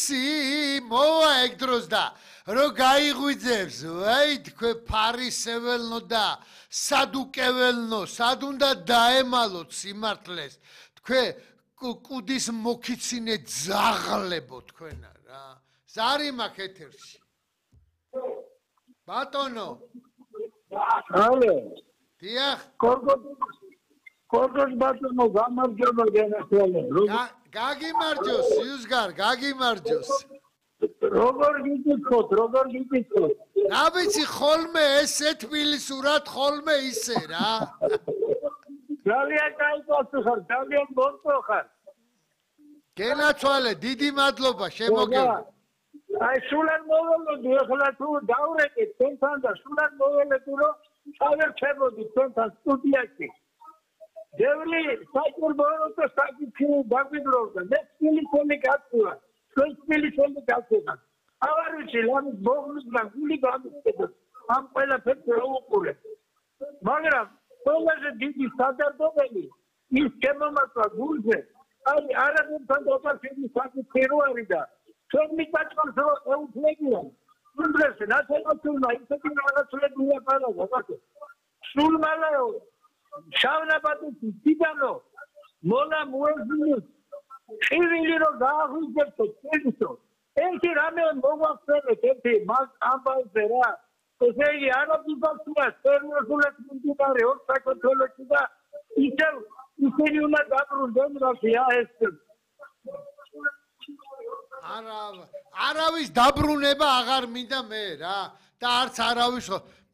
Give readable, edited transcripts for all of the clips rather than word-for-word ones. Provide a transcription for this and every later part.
იცი მოვა ეგ დროს და რო გაიღვიძებს ვაი თქვენ ფარისეველნო და სადუკეველნო სად უნდა დაემალოთ სიმართლეს თქვენ კუდის მოკიცინე ძაღლებო თქვენა რა ზარი მაქვს ეთერში ბატონო ალე დიახ კორგოს ბატონო გამარჯობა გენახვალე გაგიმარჯოს იუსგარ გაგიმარჯოს როგორ გიგიქოთ რა ვიცი ხოლმე ესე თბილისურად ხოლმე ისე რა ძალიან კაი პასუხარ ძალიან მორწო ხარ გენაცვალე დიდი მადლობა შემოგევა აი სულან მოველოდი ახლა თუ დავრეკეთ თქვენთან და სულან მოველოდი რომ ჩავერჩებოდი თქვენთან სტუდიაში დევლი საჭიროა საკითხი დაგვიდროვდა მე სპილისელი გაწვა თქვენ სპილისელი გაწვა აღარ ვიცი ლამის ბოგნის და გული გამიხედოთ ამ ყველაფერს უყურე მაგრამ ყველაზე დიდი სადარდობელი ის შემომაწვა გულზე აი არაბებთან დაკავშირების საკითხი რო არის და ჩვენ მიწაწყალს რო ეუფლებიან უნდრეს ნაციონალურმა ისეთი რაღაცებია პარაგო სულ მალაო შავნაბადის დიდანო მოლა მოეძინოს ხივილი რო გააღვიძებთ წელსო ერთი რამე მოგვახსენეთ ერთი მას ამბავზე რა ესე იგი არაბებსა სერვოსულად მიმდინარე ორ საქართველოში და ისინი უნდა დაბრუნდნენ რა ეს არავის დაბრუნება აღარ მინდა მე რა და არც არავის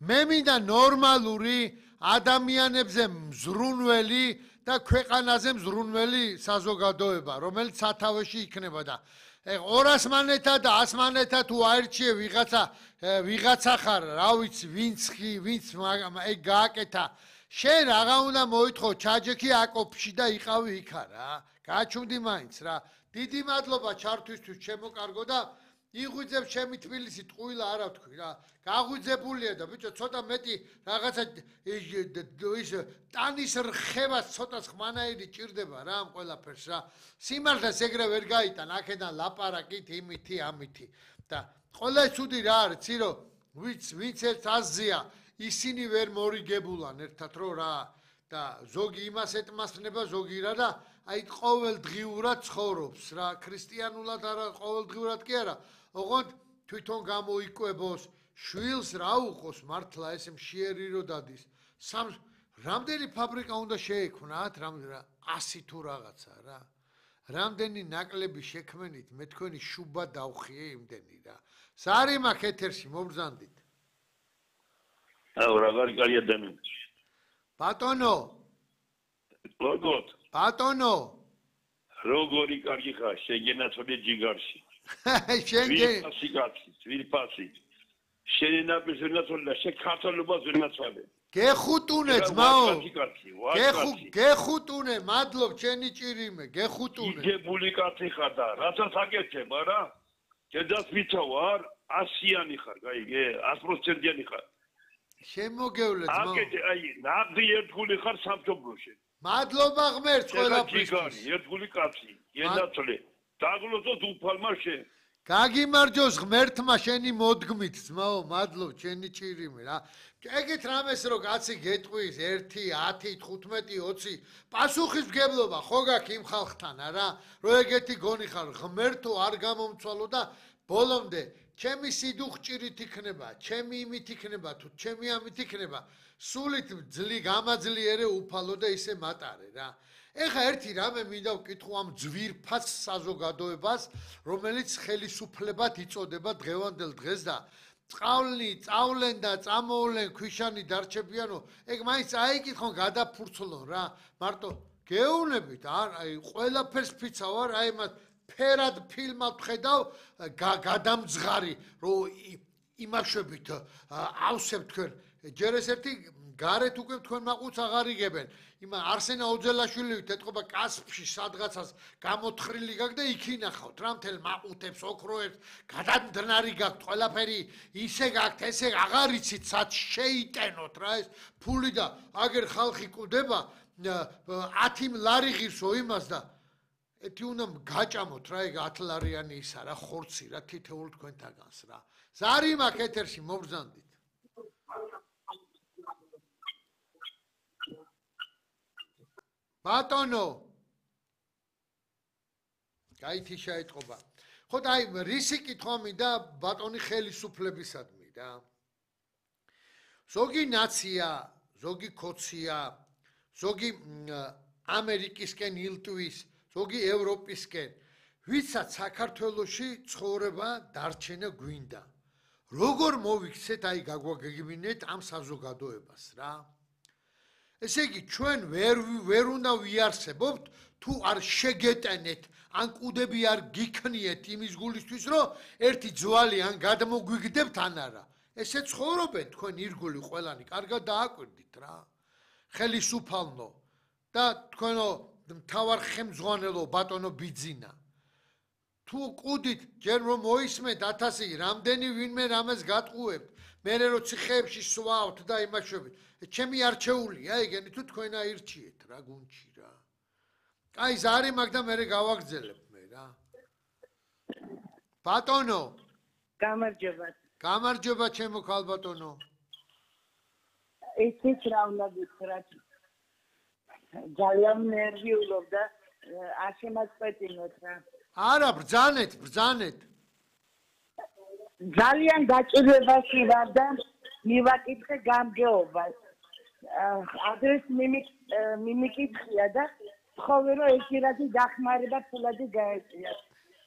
მე მინდა ნორმალური ადამიანებზე მზრუნველი და ქვეყანაზე მზრუნველი საზოგადოება რომელიც სათავეში იქნება და 200 მანეთა და 100 მანეთა თუ აერჩიე ვიღაცა ხარ რა ვიცი ვინც ეგ გააკეთა შენ რაღა უნდა მოითხო ჩაჯექი აკოფში და იყავი იქა რა გაჩვდი მაინც რა დიდი მადლობა ჩართვისთვის ჩემო კარგო და იღვიძებ ჩემი თბილისი ტყუილა არა ვთქვი რა გაღვიძებულია და ბიჭო ცოტა მეტი რაღაცა ის ტანის რხევას ცოტა ხმანაირი ჭირდება რა ამ ყველაფერს რა სიმართლეს ეგრე ვერ გაიტან აქედან ლაპარაკით იმითი ამითი და ყველა ცუდი რა არის ცი რომ ვინც ერთ აზია ისინი ვერ მორიგებულან ერთად რო რა და ზოგი იმას ეთმასნება ზოგი რა და აი ყოველდღიურად ცხოვრობს რა ქრისტიანულად არა ყოველდღიურად კი არა ოღონდ თვითონ გამოიკვებოს შვილს რა უყოს მართლა ესე მშიერი რო დადის რამდენი ფაბრიკა უნდა შეექმნათ რამდენი 100 თუ რაღაცა რა რამდენი ნაკლები შექმენით მე თქვენი შუბა დავხიე იმდენი რა ზარი მაქვს ეთერში მობრძანდით აუ რაღაცა კარი ადამიანი ბატონო ბატონო როგორი კარგი ხარ შეგენაცვალე ჯიგარში ვირფასი შენინაპის ვერნაცვალე შეკათალობას ვერნაცვალე გეხუტუნე ძმაო გეხუტუნე მადლობ ჩენი ჭირიმე გეხუტუნე იგებული კაცი ხარ და რასაც აკეთებ არა ჯედას ვიცავ არ 100-იანი ხარ გაიგე 100%-იანი ხარ შემოგევლე ძმაო აკეთე აი ნაღდი ერთგული ხარ სამშობლოში მადლობა ღმერთს ყველაფრისთვის ერთგული კაცი გენაცვლე დაგლოცო უფალმა შენ გაგიმარჯოს ღმერთმა შენი მოდგმით ძმაო მადლობ ჩენი ჭირიმე რა ეგეთ რამეს რო კაცი გეტყვის 1 10 15 20 პასუხისმგებლობა ხო გაქვს იმ ხალხთან არა რო ეგეთი გონი ხარ ღმერთო არ გამომცვალო და ბოლომდე ჩემი სიდუხჭირით იქნება ჩემი იმით იქნება თუ ჩემი ამით იქნება სულით გამაძლიერე უფალო და ისე მატარე რა ეხა ერთი რამე მინდა ვკითხო ამ ძვირფას საზოგადოებას რომელიც ხელისუფლებად იწოდება დღევანდელ დღეს და წავლენ და წამოვლენ ქვიშანი დარჩებიანო ეგ მაინც აიკითხონ გადაფურცლონ რა მარტო გეუნებით აი ყველაფერს ფიცავ არ აი მათ ფერად ფილმად ხედავ გადამძღარი რომ იმაშვებით ავსებ თქვენ ჯერ ეს ერთი გარეთ უკვე თქვენ მაყუც აღარ იგებენ იმ არსენა ოძელაშვილივით ეთყობა კასპში სადღაცას გამოთხრილი გაქვს და იქ ინახავთ რა მთელ მაყუთებს ოქროებს გადამდნარი გაქვთ ყველაფერი ისე გაქვთ ესე აღარ იცით სად შეიტენოთ რა ეს ფული და აგერ ხალხი კვდება 10 ლარი ღირსო იმას და ეთი უნდა გაჭამოთ რა ეგ 10 ლარიანი ისა რა ხორცი რა თითოეულ თქვენთაგანს რა ზარი მაქვს ეთერში მობრძანდით ბატონო გაითი შეიტყობა ხო და აი რისი კითხვა მინდა ბატონი ხელისუფლებისადმი რა ზოგი ნაცია ზოგი ქოცია ზოგი ამერიკისკენ ილტვის ზოგი ევროპისკენ ვისაც საქართველოში ცხოვრება დარჩენა გვინდა როგორ მოვიქცეთ აი გაგვაგებინეთ ამ საზოგადოებას რა ესე იგი ჩვენ ვერ უნდა ვიარსებობთ თუ არ შეგეტენეთ ან კუდები არ გიქნიეთ იმის გულისთვის რომ ერთი ძვალი ან გადმოგვიგდებთ ან არა ესე ცხოვრობენ თქვენ ირგული ყველანი კარგად დააკვირდით რა ხელისუფალნო და თქვენო მთავარ ხელმძღვანელო ბატონო ბიძინა თუ კუდით ჯერ რომ მოისმენთ 1000 რამდენი ვინმე რამეს გატყუებთ მე რო ციხეებში სვავთ და იმაშვებით ჩემი არჩეულია ეგენი თუ თქვენ აირჩიეთ რა გუნჩი რა კაი ზარი მაგ და მე გავაგზელებ მე რა ბატონო გამარჯობა ჩემო ქალბატონო ისიც რა უნდა გითხრათ ძალიან ნერვიულობდა არ შემაწყვეტინოთ რა არა ბრძანეთ ძალიან გაჭირვებაში ვარ და მივაკითხე გამგეობას ადრეს მიმიკითხია და ხოლმე რომ ეხირადი დახმარება ფულადი გაეწია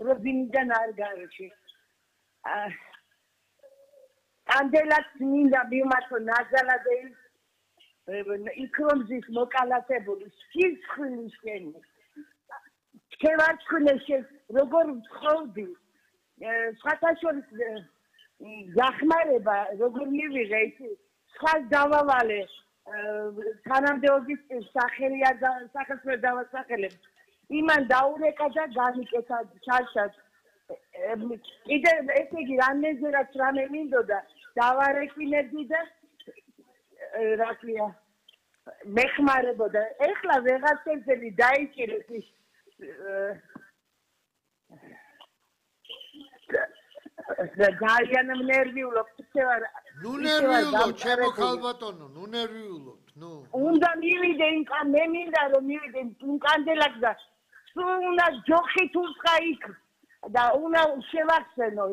რომ ვინიდან არ გარჩი ანდელაც მინდა მიმართო ნაზალადეი იქრომზის მოკალათებული სიცხვილის შენი შევარცხნეს როგორ ვთხოვდი სხვათაშორის დახმარება როგორ მივიღე ისი სხვა დავავალე თანამდებობის სახელი არ სახელს ვერ დავასახელებ იმან დაურეკა და განიკეთა ჩარჩად კიდე ესე იგი რამეზერაც რამე მინდოდა დავარეკინებდი და რა ქვია მეხმარებოდა ეხლა ვეღარცელი დაიჭირეს ის ძალიან ნერვიულობ ნუ ნერვიულობ ჩემო ქალბატონო ნუ ნერვიულობ ნუ უნდა მივიდე მე მინდა რომ მივიდე კანდელაკ და სულ უნდა ჯოხით უსხა იქ და უნდა შევახსენო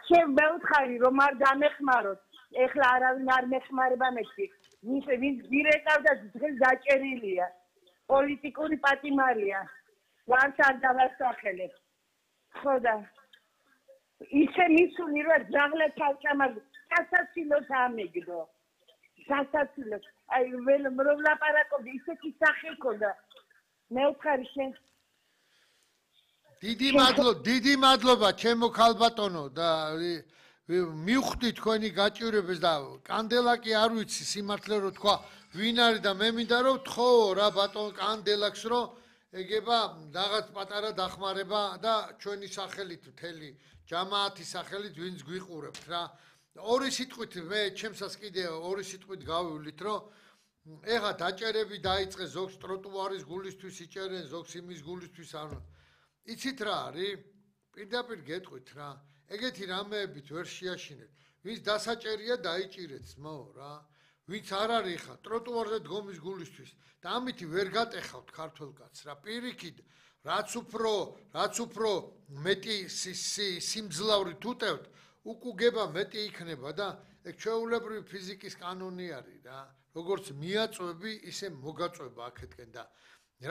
შევმეუთხარი რომ არ დამეხმაროთ ეხლა არავინ არ მეხმარება მეთქი ვინც დირექტორ და დღეს დაჭერილია პოლიტიკური პატიმარია ვარც არ დავასახელებ ხო და ისე მისული რომ ძაღლე თავჭამად სასაცილოს ამეგდო სასაცილოს აი რომ ლაპარაკობდი ისეთი სახე ქონდა მე ვხარი შენ დიდი მადლობა ჩემო ქალბატონო და მივხვდი თქვენი გაჭირვებას და კანდელაკი არ ვიცი სიმართლე რომ თქვა ვინ არის და მე მინდა რომ თხოვო რა ბატონ კანდელაკს რომ ეგება რაღაც პატარა დახმარება და ჩვენი სახელით მთელი ჯამაათის სახელით ვინც გვიყურებთ რა ორი სიტყვით მე ჩემსას კიდე ორი სიტყვით გავივლით რომ ეხა დაჭერები დაიწყე ზოგს ტროტუარის გულისთვის იჭერენ ზოგს იმის გულისთვის არ იცით რა არის პირდაპირ გეტყვით რა ეგეთი რამეებით ვერ შეაშინეთ ვინც დასაჭერია დაიჭირეთ ძმო რა ვინც არ არის ხა ტროტუარზე დგომის გულისთვის და ამითი ვერ გატეხავთ ქართულ კაცს რა პირიქით რაც უფრო მეტი სიმძლავრით უტევთ უკუგება მეტი იქნება და ეგ ჩვეულებრივი ფიზიკის კანონი არის რა როგორც მიაწვევი ისე მოგაწვება აქეთკენ და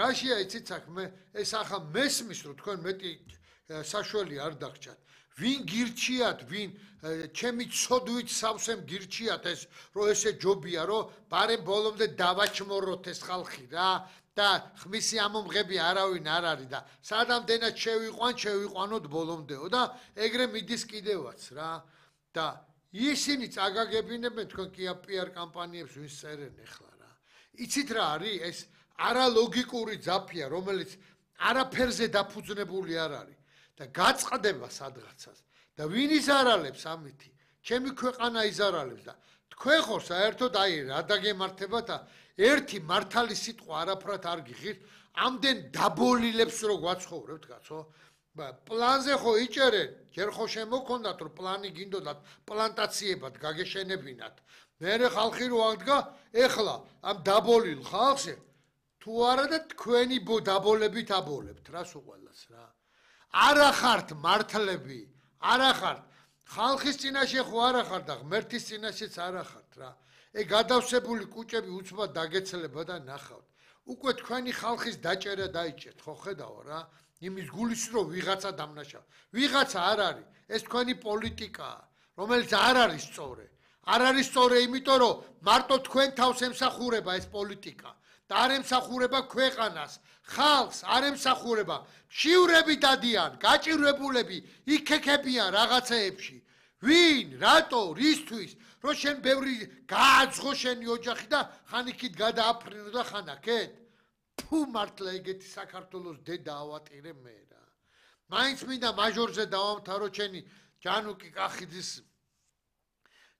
რაშია იცით საქმე ეს ახლა მესმის რომ თქვენ მეტი საშველი არ დაგჭათ ვინ გირჩიათ ვინ ჩემი ცოდვით სავსემ გირჩიათ ეს რომ ესე ჯობია რომ ბარემ ბოლომდე დავაჩმოროთ ეს ხალხი რა და ხმისი ამომღები არავინ არ არის და სადამდენად შევიყვანოთ ბოლომდეო და ეგრე მიდის კიდევაც რა და ისინი წაგაგებინებენ თქვენ კი PR კამპანიებს ვინც წერენ ახლა რა იცით რა არის ეს არალოგიკური ძაფია რომელიც არაფერზე დაფუძნებული არ არის და გაწყდება სადღაცას და ვინ იზარალებს ამითი ჩემი ქვეყანა იზარალებს და თქვენ ხო საერთოდ აი რა დაგემართებათ ერთი მართალი სიტყვა არაფრად არ გიხირთ ამდენ დაბოლილებს რო გვაცხოვრებთ კაცო პლანზე ხო იჭერენ ჯერ ხო შემოქონდათ რომ პლანი გინდოდათ პლანტაციებად გაგეშენებინათ მერე ხალხი რო აღდგა ეხლა ამ დაბოლილ ხალხზე თუ არა და თქვენი დაბოლებით აბოლებთ რას უყოლას რა არა ხართ მართლები არა ხართ ხალხის წინაშე ხო არა ხართ და ღმერთის წინაშეც არა ხართ რა ეგ გადავსებული კუჭები უცბად დაგეცლება და ნახავთ უკვე თქვენი ხალხის დაჭერა დაიჭერთ ხო ხედავ რა იმის გულის რო ვიღაცა დამნაშავ ვიღაცა არ არის ეს თქვენი პოლიტიკაა რომელიც არ არის სწორი არ არის სწორი იმიტომ რომ მარტო თქვენ თავს ემსახურება ეს პოლიტიკა და არ ემსახურება ქვეყანას ხალხს არ ემსახურება შივრები დადიან გაჭირვებულები იქექებიან რაღაცეებში ვინ რატო რისთვის რომ შენ ბევრი გააძღო შენი ოჯახი და ხან იქით გადააფრინო და ხან აქეთ ფუ მართლა ეგეთი საქართველოს დედა ავატირე მე რა მაინც მინდა მაჟორზე დავამთავრო ჩენი ჯანუკი კახიძის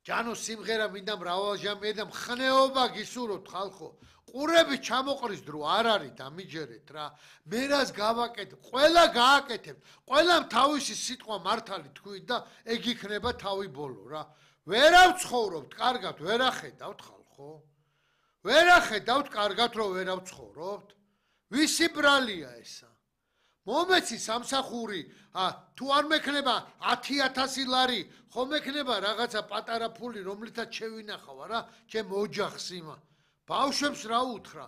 ჯანოს სიმღერა მინდა მრავალჟამია და მხნეობა გისურვოთ ხალხო ყურები ჩამოყრის დრო არ არის დამიჯერეთ რა მე რას გავაკეთებ ყველა გააკეთებ ყველამ თავისი სიტყვა მართალი თქვით და ეგ იქნება თავი ბოლო რა ვერავცხოვრობთ კარგად ვერახედავთ ხალხო ვერახედავთ კარგად რომ ვერავცხოვრობთ ვისი ბრალია ესა მომეცი სამსახური თუ არ მექნება 10,000 ლარი ხომ მექნება რაღაცა პატარა ფული რომლითაც შევინახავ რა ჩემ ოჯახს იმა ბავშვებს რა უთხრა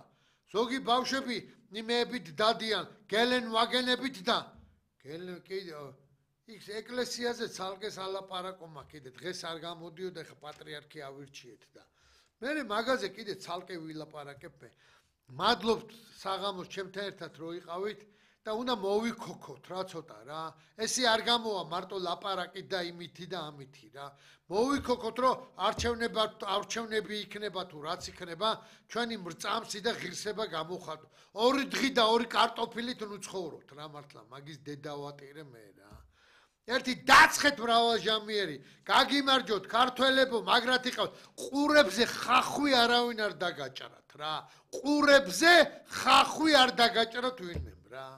ზოგი ბავშვები იმეებით დადიან გელენ ვაგენებით და გელენ კიდე იქ ეკლესიაზე ცალკეს ალაპარაკომა კიდე დღეს არ გამოდიოდა ხა პატრიარქი ავირჩიეთ და მე მაგაზე კიდე ცალკე ვილაპარაკებ მადლობთ საღამოს ჩემთან ერთად რო იყავით და უნდა მოვიქოქოთ რა ცოტა რა ესე არ გამოვა მარტო ლაპარაკით და იმითი და ამითი რა მოვიქოქოთ რომ არჩევნები იქნება თუ რაც იქნება ჩვენი მრწამსი და ღირსება გამოვხატო 2 დღე და 2 კარტოფილით ნუ ცხოვრობთ რა მართლა მაგის დედავატირე მე რა ერთი დაცხეთ მრავალჟამიერი გაგიმარჯოთ ქართველებო მაგრად იყავთ ყურებზე ხახვი არავინ არ დაგაჭრათ რა ყურებზე ხახვი არ დაგაჭრათ ვინმე რა